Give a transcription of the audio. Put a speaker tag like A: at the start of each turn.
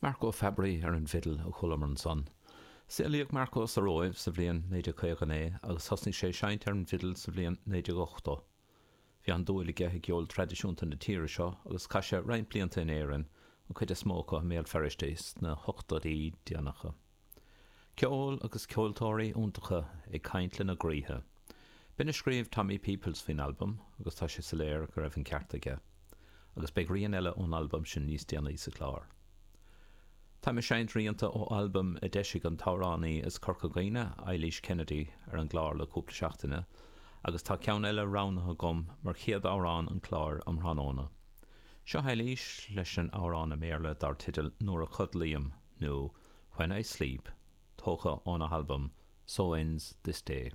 A: Marco Fabbri ar an bhfidil a chualamar ansan. Saolaíodh Marco sa Róimh sa bhliain 1959 agus thosnaigh sé ag seinnt ar an bhfidil sa bhliain 1980. Bhí an-dúil aige i gceol traidisiúnta na tíre seo agus chaith sé roinnt blianta in Éirinn, an chuid is mó acu i mBéal Feirste sna hochtóidí déanacha. Ceol agus ceoltóirí iontacha ag caint lena gcroíthe. B'in a scríobh Tommy Peoples faoin albam agus tá sé soiléir go raibh an ceart aige. Agus beidh rian eile ón albam sin níos déanaí sa chlár. Táim ag seinnt rianta ó albam a d'eisigh an t-amhránaí as Corca Dhuibhne, Eilís Kennedy, ar an gclár le cúpla seachtaine agus tá ceann eile roghnaithe agam mar chéad amhrán an chláir um thráthnóna. Seo Eilís leis an amhrán i mBéarla dar teideal Nuair a Chodlaím nó When I Sleep, tógtha óna halbam So Ends This Day.